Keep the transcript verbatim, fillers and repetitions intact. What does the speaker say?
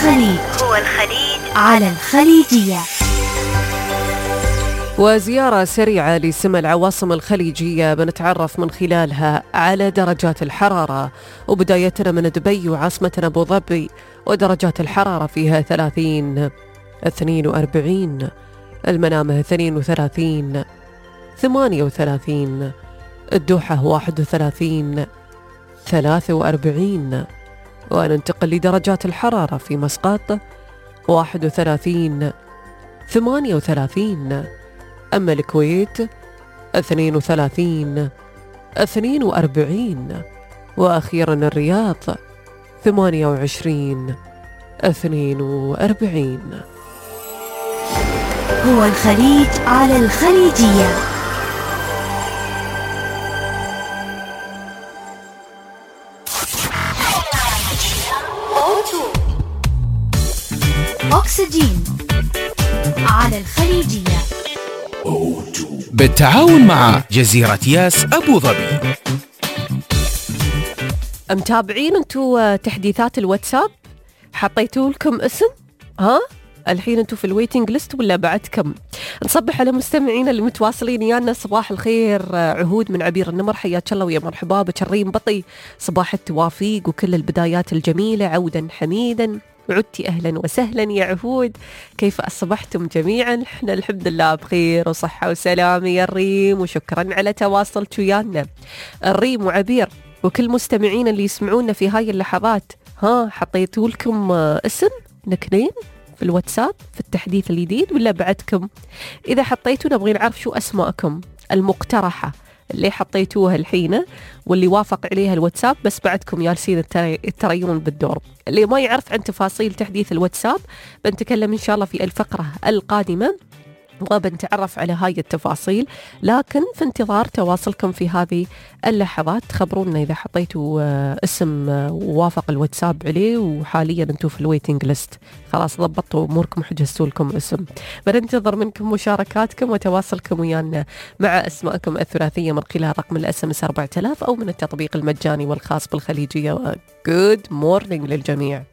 الخليج هو الخليج على الخليجية. وزيارة سريعة لسمى العواصم الخليجية بنتعرف من خلالها على درجات الحرارة، وبدايتنا من دبي وعاصمتنا أبو ظبي، ودرجات الحرارة فيها ثلاثين، اثنين وأربعين، المنامة اثنين وثلاثين، ثمانية وثلاثين، الدوحة واحد وثلاثين، ثلاثة وأربعين. وننتقل لدرجات الحرارة في مسقط واحد وثلاثين، ثمانية وثلاثين، أما الكويت اثنين وثلاثين، اثنين وأربعين، وأخيرا الرياض ثمانية وعشرين، اثنين وأربعين. هو الخليج على الخليجية. أكسجين على الخليجية بالتعاون مع جزيرة ياس أبو ظبي. متابعين انتوا تحديثات الواتساب؟ حطيتوا لكم اسم؟ ها؟ الحين انتوا في الويتنج ليست ولا بعدكم؟ نصبح على مستمعين اللي متواصلين يانا. صباح الخير عهود من عبير النمر، حياك الله ويا مرحبا بك. الريم بطي، صباح التوافيق وكل البدايات الجميلة، عودا حميدا، عدتي أهلا وسهلا يا عهود. كيف أصبحتم جميعا؟ احنا الحمد لله بخير وصحة وسلامة يا الريم، وشكرا على تواصلك ويانا. الريم وعبير وكل مستمعين اللي يسمعونا في هاي اللحظات، ها حطيتوا لكم اسم نكنين في الواتساب في التحديث الجديد ولا بعدكم؟ إذا حطيتوا نبغي نعرف شو أسماءكم المقترحة اللي حطيتوها الحين واللي وافق عليها الواتساب، بس بعدكم جالسين تريون بالدور. اللي ما يعرف عن تفاصيل تحديث الواتساب بنتكلم إن شاء الله في الفقرة القادمة وبنتعرف على هاي التفاصيل، لكن في انتظار تواصلكم في هذه اللحظات. خبرونا إذا حطيتوا اسم ووافق الواتساب عليه وحاليا انتم في الويتنج ليست، خلاص ضبطوا أموركم وحجزتوا لكم اسم. بننتظر منكم مشاركاتكم وتواصلكم ويانا مع أسماءكم الثلاثية من خلال رقم الأس ام اس أربعة آلاف أو من التطبيق المجاني والخاص بالخليجية. Good morning للجميع.